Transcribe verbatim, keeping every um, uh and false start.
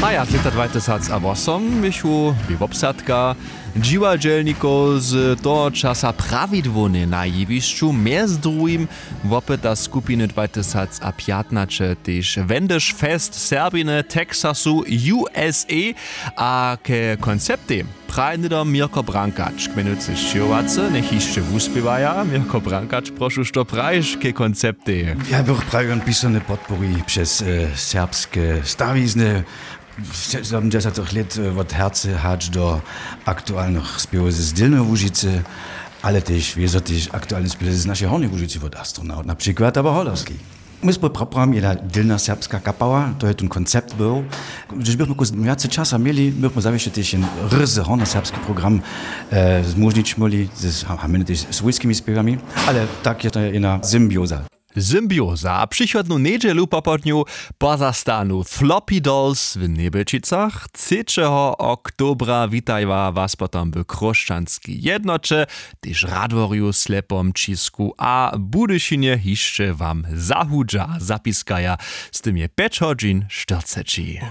A ja z lěta dwatysacawosomjechu bě wobsadka dźiwadźelnikow z toho časa prawidłownje na jewišću, mjez druhim wopyta skupiny dwatysacapjatnaće tež wendyš fest serbiny texasu usa. A ke konceptej praje hnydom mirko brankač k mjenujcy sćěhowacy njech hišće wuspěwaja. Mirko brankač, prošu, što prajiš ke konceptej? Ja bych prajił, on pisane podpori přez serbske stawizny. Sedemdźesatych lět wot hercy hač do aktualnych spěwow z dylneho łužicy, ale tež wězo tež aktualne spěwow z našej hornjej łužicy wot astronaut na přikład abo holowski. My smy praprami jedna dylna serbska kapała, to je ten koncept był. Hdyž bychmy kus wjace časa měli, bychmy zawěsće tež jen ryzy hornoserbski program zmóžnić móhli z hamjeny tež swójskimi spěwami. Ale tak je to jedna symbioza. Symbioza a přichodnu njedźelu popołdnju pozastanu flopidolls w njebelčicach. Třećeho oktobra witajła was potom w chróšćanskej jednoće, tež radworju slepom ćisku a budyšinje hišće wam zahudźa zapiskaja. Z tym je pjeć hodźin štyrceći.